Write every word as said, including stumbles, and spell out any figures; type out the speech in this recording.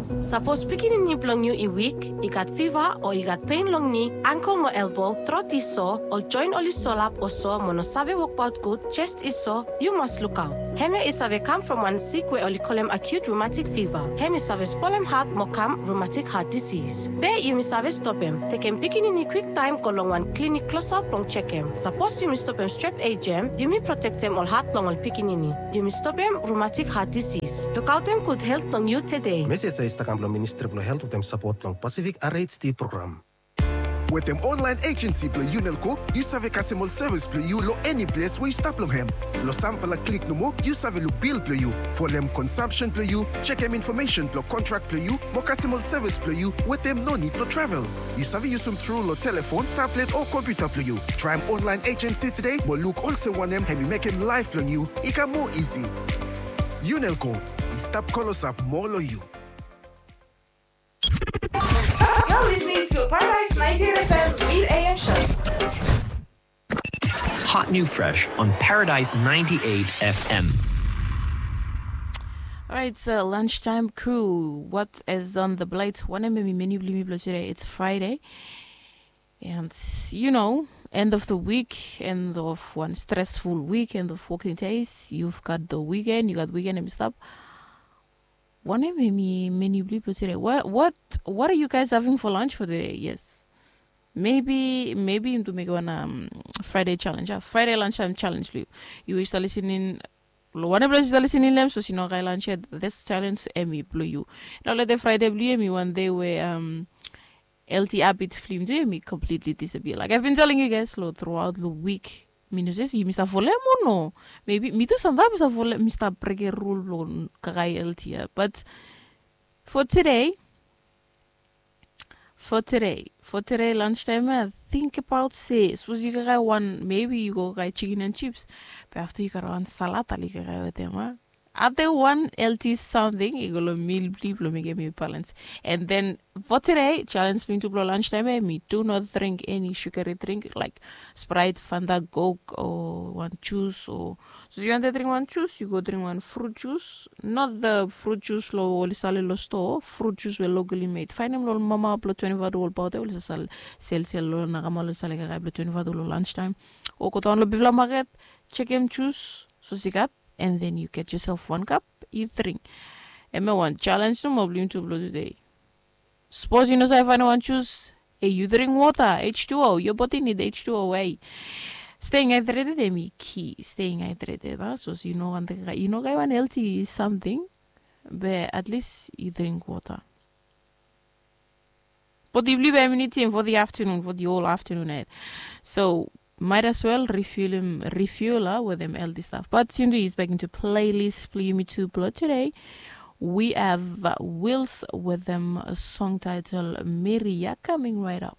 Sapos pikinini blong yu i wik, i gat fiva o i gat pen long ni, angkel mo elbo, trot i so, ol joen oli solap o so mo no save wokbaot gud, jes i so, yu mas lukaot. Hemia i save kam from wan sik we oli kolem acute rheumatic fever. Hem i save spolem hat mo kam rheumatic heart disease. Be yumi save stopem, tekem pikinini kwiktaem go long wan klinik klosap blong jekem. Sapos yumi stopem strep A J M, yumi protektem ol hat blong ol pikinini. Yumi stopem rheumatic heart disease. Lukaotem gud helt blong yu tede. Mesej ya i stap kam blong Ministri blong Helt wetem sapot blong Pacific R H D program. Wetem online agency blong Unelco, yu save kasem ol sevis blong yu long eni ples we yu stap long hem. Long samfala klik nomo, yu save luk bil blong yu, folem consumption blong yu, jekem infomesen blong kontrak blong yu, mo kasem ol sevis blong yu wetem no nid blong travel. Yu save yusum tru long telefon, tablet o kompiuta blong yu. Traem online agency tede mo luk olsem wanem hem i mekem laef blong yu i kam moa isi. Unelco, i stap klosap moa long yu. You're listening to Paradise ninety-eight F M Mid A M Show. Hot new fresh on Paradise ninety-eight F M. Alright, so lunchtime crew, what is on the plate? Wanem hemi menu blong yumi blong today? It's Friday. And you know, end of the week, end of one stressful week, end of working days. You've got the weekend, you got weekend hemi stap. Wanem hemi menu blong yu blong today? What, what, what are you guys having for lunch for today? Yes. Maybe, maybe yumi tu mekem wan um, Friday challenge. Ah, Friday lunchtime challenge blong yu. Yu we yu stap listening, long wanem ples yu stap listening long hem, sapos yu no gat lunch yet, this challenge hemi blong yu. Nao lete Friday blong yu hemi wan dei we um, healthy habit blong yumi tu hemi completely disappear. Like I've been telling you guys lo throughout lo week, mi no save se yumi stap folem o no. Maybe mi tu samtaem mi stap folem, mi stap brekem rul blong kakae healthy ya. But for today, for today, for today lunchtime ya, think about se sapos yu kakae wan, maybe yu go kakae chicken and chips, be afta yu kakae wan salad, ale yu kakae wetem a Ade wan healthy samting i go long mil blong yu blong mekem yu balance. And then for today, challenge blong yu tu blong lunchtime ya, hemi do not drink any sugary drink like Sprite, Fanta, Coke o wan juice o. So yu wantem dring wan juice, yu go dring wan fruit juice. Not the fruit juice lo oli sale lo stoa, fruit juice we locally made. Faenem lo ol mama blong twenty-five dollar bottle oli sasal selsel lo nakama lo sale kakae blong twenty-five dollar lunchtime. O godaon lo bigfala maket, jekem juice sapos i gat, and then you get yourself one cup, yu dring. Hemia wan challenge nomo blong yumi tu blong today. Sapos yu no save faenem wan juice, hey, yu dring wota, H two O, your body need H two O, hey. Staying hydrated hemi key, staying hydrated a. Sapos yu no wantem, yu no gat wan healthy samting, be at least yu dring wota. But yu blong yu be hemi nidim for the afternoon, for the whole afternoon, eh? So might as well refuel him, refuel a, wetem healthy stuff. But Cindy is back into playlist blong yumi tu blong today. We have uh, Wills wetem a song title Miria coming right up.